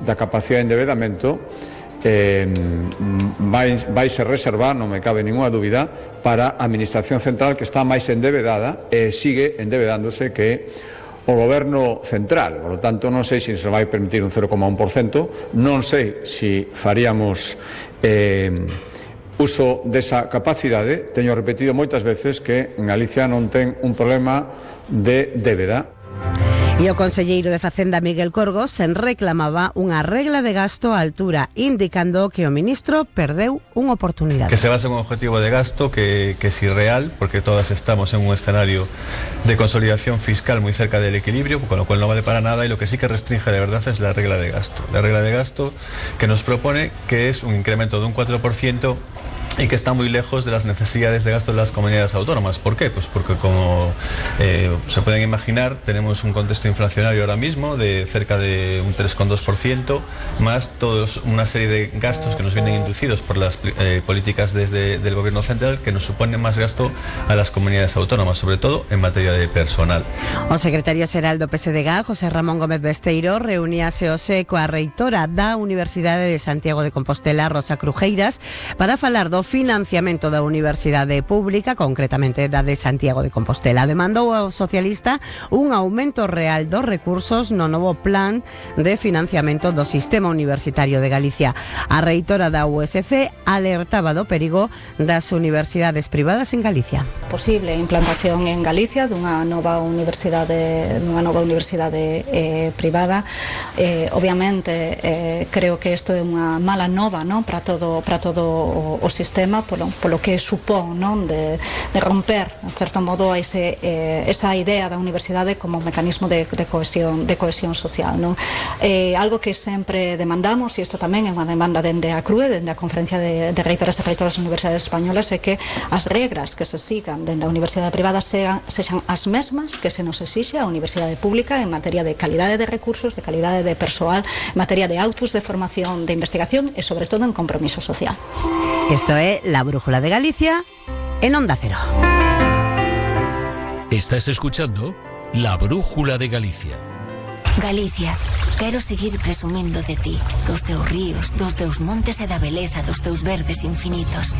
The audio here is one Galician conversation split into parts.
da capacidade de endebedamento vai se reservar, non me cabe ninguna dúbida, para a Administración Central, que está máis endebedada e sigue endebedándose que o Goberno Central. Por lo tanto, non sei se vai permitir un 0,1%, non sei se faríamos uso desa capacidade. Teño repetido moitas veces que en Galicia non ten un problema de débeda. E o conselleiro de Facenda, Miguel Corgos, reclamaba unha regla de gasto á altura, indicando que o ministro perdeu unha oportunidade. Que se basa en un objetivo de gasto que es irreal, porque todas estamos en un escenario de consolidación fiscal muy cerca del equilibrio, con lo cual no vale para nada, y lo que sí que restringe de verdad es la regla de gasto. La regla de gasto que nos propone que es un incremento de un 4%, y que está muy lejos de las necesidades de gasto de las comunidades autónomas. ¿Por qué? Pues porque, como se pueden imaginar, tenemos un contexto inflacionario ahora mismo de cerca de un 3,2%, más una serie de gastos que nos vienen inducidos por las políticas del Gobierno Central, que nos suponen más gasto a las comunidades autónomas, sobre todo en materia de personal. O secretario xeral do PSDG, José Ramón Gómez Besteiro, reuníase hoxe coa reitora da Universidade de Santiago de Compostela, Rosa Crujeiras, para falar do financiamento da Universidade Pública, concretamente da de Santiago de Compostela. Demandou ao socialista un aumento real dos recursos no novo plan de financiamento do sistema universitario de Galicia. A reitora da USC alertaba do perigo das universidades privadas en Galicia. Posible implantación en Galicia dunha nova universidade privada. Obviamente creo que isto é unha mala nova, non, para todo o sistema, polo que supón, non, de romper, en certo modo, esa idea da universidade como un mecanismo de cohesión social, non? Algo que sempre demandamos, e isto tamén é unha demanda dende a CRUE, dende a Conferencia de Reitoras e Reitoras das Universidades Españolas, é que as regras que se sigan dende a universidade privada sexan as mesmas que se nos exixe a universidade pública en materia de calidade de recursos, de calidade de persoal, en materia de autos de formación, de investigación e, sobre todo, en compromiso social. Esto é La Brújula de Galicia en Onda Cero. Estás escuchando La Brújula de Galicia. Galicia, quero seguir presumindo de ti, dos teus ríos, dos teus montes e da beleza dos teus verdes infinitos.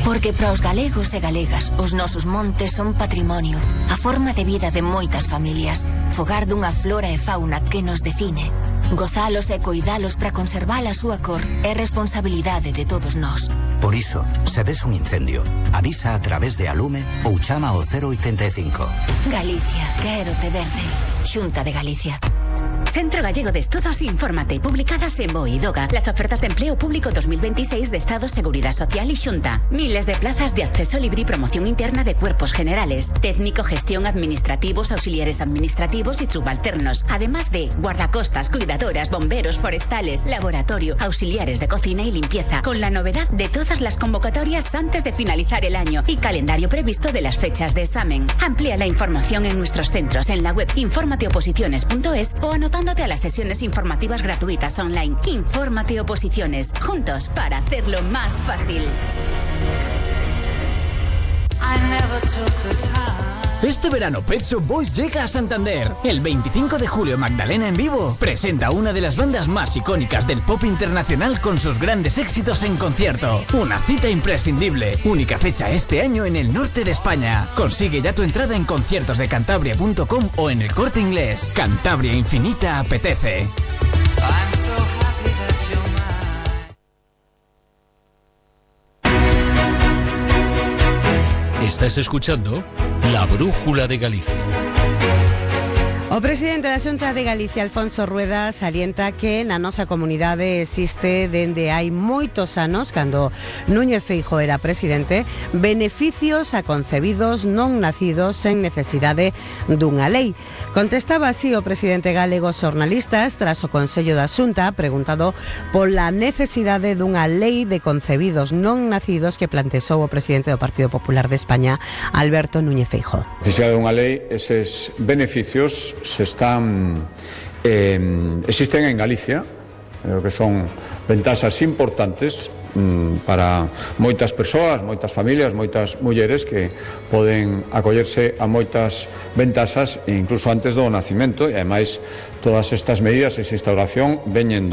Porque para os galegos e galegas, os nosos montes son patrimonio, a forma de vida de moitas familias, fogar dunha flora e fauna que nos define. Gozalos e coidalos para conservar a súa cor é responsabilidade de todos nós. Por iso, se ves un incendio, avisa a través de Alume ou chama ao 085. Galicia, quérote verde. Xunta de Galicia. Centro Gallego de Estudos Infórmate, publicadas en BOE y DOGA. Las ofertas de empleo público 2026 de Estado, Seguridad Social y Xunta. Miles de plazas de acceso libre y promoción interna de cuerpos generales, técnico, gestión, administrativos, auxiliares administrativos y subalternos. Además de guardacostas, cuidadoras, bomberos, forestales, laboratorio, auxiliares de cocina y limpieza. Con la novedad de todas las convocatorias antes de finalizar el año y calendario previsto de las fechas de examen. Amplía la información en nuestros centros en la web informateoposiciones.es o anotándote a las sesiones informativas gratuitas online. Infórmate Oposiciones, juntos para hacerlo más fácil. Este verano Pet Shop Boys llega a Santander. El 25 de julio Magdalena en vivo presenta una de las bandas más icónicas del pop internacional con sus grandes éxitos en concierto. Una cita imprescindible. Única fecha este año en el norte de España. Consigue ya tu entrada en conciertosdecantabria.com o en El Corte Inglés. Cantabria Infinita apetece. Estás escuchando La Brújula de Galicia. O presidente da Xunta de Galicia, Alfonso Rueda, salienta que na nosa comunidade existe dende hai moitos anos, cando Núñez Feijóo era presidente, beneficios a concebidos non nacidos sen necesidade dunha lei. Contestaba así o presidente galego aos xornalistas tras o Consello da Xunta, preguntado pola necesidade dunha lei de concebidos non nacidos que plantexou o presidente do Partido Popular de España, Alberto Núñez Feijóo. Necesidade dunha lei, eses beneficios existen en Galicia, que son ventaxas importantes para moitas persoas, moitas familias, moitas mulleres que poden acollerse a moitas ventaxas incluso antes do nacimento, e ademais todas estas medidas, esa instauración veñen do